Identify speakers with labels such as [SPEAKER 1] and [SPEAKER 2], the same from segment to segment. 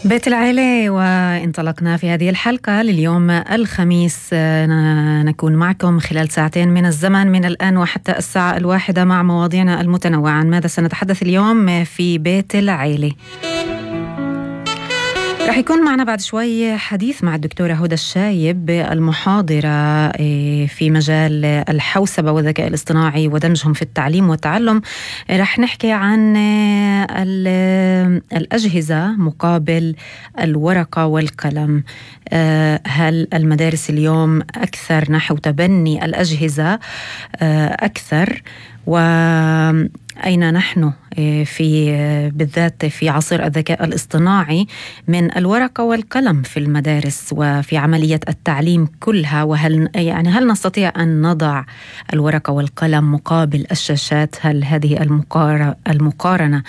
[SPEAKER 1] بيت العيلة، وانطلقنا في هذه الحلقة لليوم الخميس. نكون معكم خلال ساعتين من الزمن من الآن وحتى الساعة 1 مع مواضيعنا المتنوعة. عن ماذا سنتحدث اليوم في بيت العيلة؟ رح يكون معنا بعد شوي حديث مع الدكتورة هدى الشايب، المحاضرة في مجال الحوسبة والذكاء الاصطناعي ودمجهم في التعليم والتعلم. رح نحكي عن الأجهزة مقابل الورقة والقلم. هل المدارس اليوم أكثر نحو تبني الأجهزة أكثر؟ وأين نحن بالذات في عصر الذكاء الاصطناعي من الورقة والقلم في المدارس وفي عملية التعليم كلها؟ وهل هل نستطيع أن نضع الورقة والقلم مقابل الشاشات؟ هل هذه المقارنة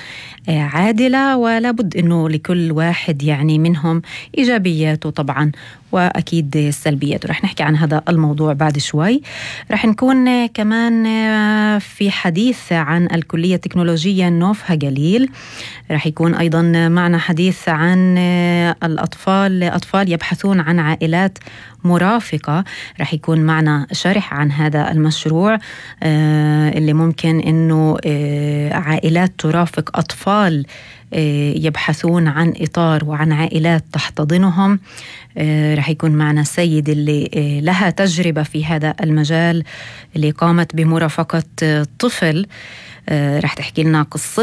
[SPEAKER 1] عادلة؟ ولا بد أنه لكل واحد منهم إيجابياته طبعا وأكيد سلبياته. رح نحكي عن هذا الموضوع بعد شوي. رح نكون كمان في حديث عن الكلية التكنولوجية نوفها جليل. رح يكون أيضا معنا حديث عن أطفال يبحثون عن عائلات مرافقة. رح يكون معنا شرح عن هذا المشروع اللي ممكن أنه عائلات ترافق أطفال يبحثون عن إطار وعن عائلات تحتضنهم. رح يكون معنا سيد اللي لها تجربة في هذا المجال، اللي قامت بمرافقة طفل. رح تحكي لنا قصة